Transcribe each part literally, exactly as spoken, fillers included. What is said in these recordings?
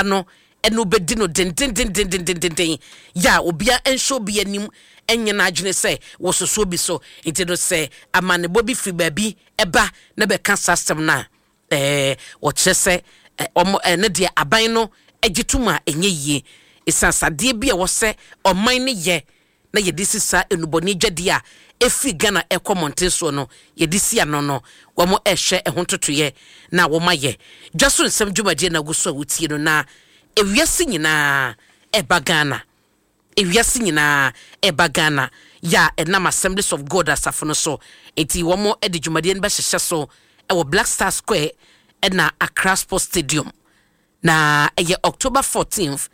No ɛna wobɛdi no dendendendendendenden yɛ a obia nhyɛ obi anim, ɛnyɛ n'adwene sɛ wɔsoso bi so. Nti no, sɛ amanebɔ bi firi baabi ɛba na bɛka saa asɛm no a, ɛɛ wɔkyerɛ sɛ ɔmo ɛne deɛ aban no agye tom a ɛnyɛ yie, ɛsiane sadeɛ bi a wɔsɛ ɔman no yɛ na yɛde si saa enubɔne dwadeɛ a ɛfiri Ghana ɛkɔ mmɔnten soɔ no, yɛde si ano no, wɔn ɛhwɛ ɛho ntotoyɛ na wɔn ayɛ. Dwa so nsɛm dwumadie na agu so a wotie no, na ewiase nyinaa ɛba Ghana, ewiase nyinaa ɛba Ghana yɛ a ɛnam Assemblies of God asafo no so. Eti wɔn de dwumadie no bɛhyehyɛ so ɛwɔ Black Star Square ɛna Accra Sports Stadium, na ɛyɛ October fourteenth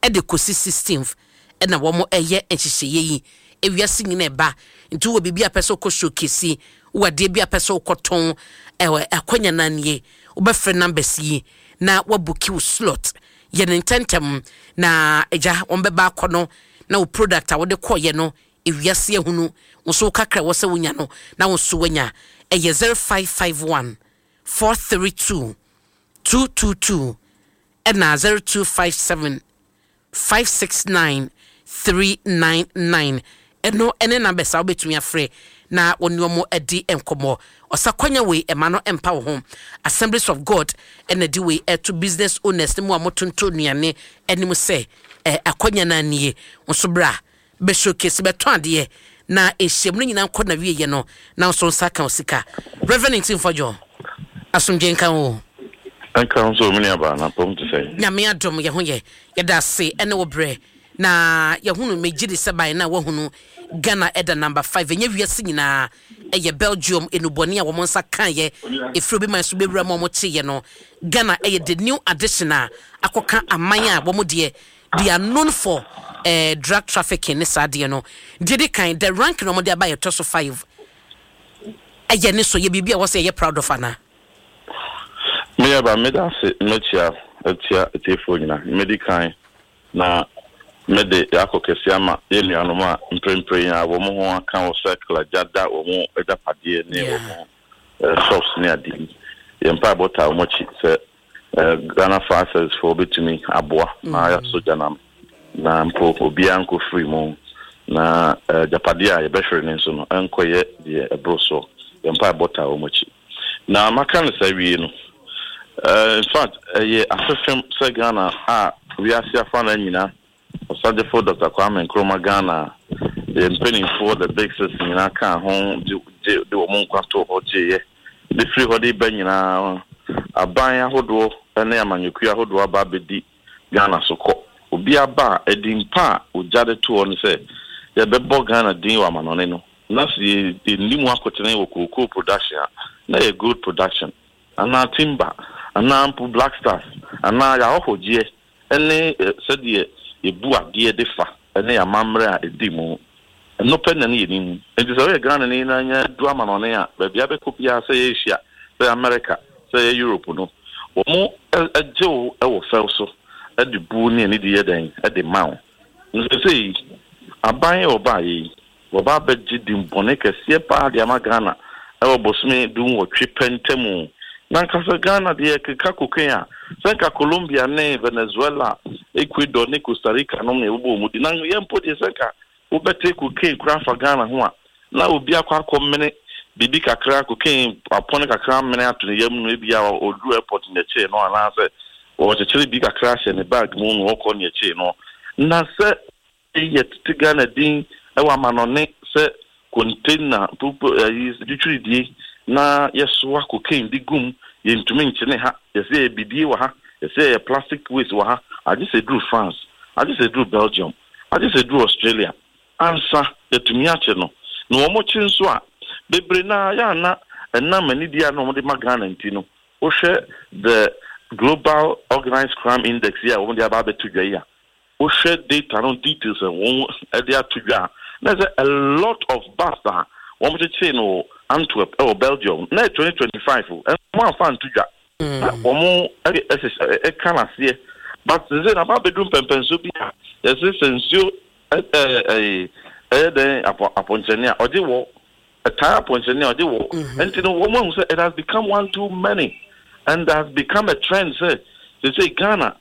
ɛde kɔsi sixteenth ɛna wɔn ɛyɛ nhyehyɛeɛ yi. Ewiase nyinaa ɛba, nti wɔ biribi a pɛ sɛ wokɔ showcase, wɔ adeɛ bi a pɛ sɛ wokɔtɔn, ɛwɔ akɔnya nanie, wobɛfrɛ numbers yi na wabook wo slot. Yɛ ne ntɛntɛm na agya wɔn bɛba akɔ no na wo product a wode kɔɔyɛ no, ewiase ahunu wo nso wo kakra wɔ sɛ wonya no na wo nso wanya. Ɛyɛ zero five five one four three two two two two ɛna zero two five seven five six nine three nine nine. Ɛno ɛne numbers a wobɛtumi afrɛ na wɔne ɔmo adi nkɔmmɔ. Ɔsa wei ɛma no mpa wo ho. Assemblies of God ɛna de wei ɛto business owners ne mu a motonto nnuane anim sɛ ɛ akɔnya no anie nso berɛ a bɛ showcase, bɛtɔn adeɛ na nhyiam no nyinaa nkɔ na wieɛ no na nso nsa ka wo sika. Reverend Ntim Fordjour, asomdwe nka wo. Nka nso, me nuabaa, na pɔm te sɛ? Nyame adom, yɛ ho yɛ, yɛda ase ɛne wo berɛ na yɛhunu. Megye de sɛ ban na wahunu Ghana ɛda number five. Ɛnyɛ wiase nyinaa, ɛyɛ Belgium enubɔne a wɔn nsa kaeɛ ɛfiri obi man so bɛwura mu a wɔn kyeeɛ no. Ghana ɛyɛ the new addition a akɔka aman a wɔn deɛ they are known for uh, drug trafficking ne saa adeɛ no. Deɛ di kan, the rank na wɔn de aba yɛtɔ so five, ɛyɛ ne so yɛ biribi a wɔsɛ yɛyɛ proud of ana? Me nuabaa, meda ase, mɛkyia atia atiefoɔ nyinaa. Medi kan na mede akɔ kɛse ama yɛn nuanom a mprempren a wɔn ho aka wɔ circle agya da wɔn agyapadeɛ ne wɔn eh, shops ne ade yi. Yɛn mpaebɔ taa wɔn akyi sɛ eh, Ghana Fire Service foɔ bɛtumi aboa na yɛasɔ gya nam na mpo obiara nkɔ firi mu na eh, agyapadeɛ a yɛbɛhwere ne nso no ɛnkɔyɛ deɛ ɛboro soɔ. Yɛn mpaebɔ taa wɔn akyi. Na maka no saa wie no, uh, in fact, ɛyɛ afefem sɛ Ghana a wiase afa no nyinaa, Ɔsagyefo Doctor Kwame Nkrumah Ghana, yɛ mpanimfoɔ, the Big Six nyinaa kaa ho de de de wɔn nkwa too hɔ gyeeɛ de firi hɔ de ba nyinaa. Aban ahodoɔ ne amanyɔkuo ahodoɔ aba abɛdi Ghana so kɔ. Obi aba a, ɛdi mpa a ogya de to hɔ no sɛ yɛbɛbɔ Ghana din wɔ amanɔne no, na sɛ yɛnni mu akotene wɔ cocoa production a, na yɛ gold production anaa timber anaa mpo Black Stars anaa yɛahɔhɔgyeɛ ne sɛdeɛ yɛbu adeɛ de fa ne amammerɛ a ɛdi mu. Ɛno pɛ na ne yɛ nim. Nti sɛ woyɛ Ghana ni na nya du amanɔne a, baabi abɛkɔ biara, sɛ yɛ Asia, sɛ yɛ America, sɛ yɛ Europe no, wɔn gye wo wɔ fɛw so de bu ne ani de yɛ dɛn de ma wo. Nsɛsɛ aban a ɔbaa yi, wɔba abɛgye din bɔne kɛseɛ paa de ama Ghana ɛwɔ bosome du nwɔtwe pɛ ntamu. Na nkasa Ghana deɛ, keka cocaine a, sɛ nka Colombia ne Venezuela, Ecuador ne Costa Rica nom na yɛbobɔ wɔn di. Na yɛn mpo deɛ, sɛ nka wobɛte cocaine koraa fa Ghana ho a, na obi akɔ akɔ mene biribi kakra, cocaine apɔne kakra mene ato ne yam no, ebi a ɔduru airport ne akyire no, anaasɛ wɔkyekyere bi kakra ahyɛ ne bag mu na ɔkɔ ne akyire no. Na sɛ yɛ tete Ghana din ɛwɔ amanɔne sɛ container pupu ɛyi twitwiridie na yɛsoa cocaine de gum, yɛntumi nkyene ha, yɛsɛ yɛ bidie wɔ ha, yɛsɛ yɛ plastic waste wɔ ha, agye sɛ duru France, agye sɛ duru Belgium, agye sɛ duru Australia ansa yɛtumi akye no. Na wɔn kye nso a, bebree naa yɛ ana ɛnam anidie a na wɔde ma Ghana. Nti no, wohwɛ the Global Organized Crime Index yi a wɔde aba abɛto dwa yi a, wohwɛ data no details a wɔn de ato dwa a, na sɛ a lot of bust a wɔn kyekyere no Antwerp ɛwɔ Belgium na yɛ twenty twenty-five o, ɛnso wɔn amfa nto dwa na wɔn ɛhyehyɛ ɛka n'aseɛ. But sɛ na aba abɛdu mpɛmpɛnso bi a yɛsɛ sɛ nsuo ɛɛ ɛɛ ɛyɛ dɛn apɔ apɔnkyɛnne a ɔgye wɔ ɛtaa apɔnkyɛnne a ɔgye wɔ. Nti no, wɔn ahu sɛ it has become one too many and has become a trend sɛ sɛ sɛ Ghana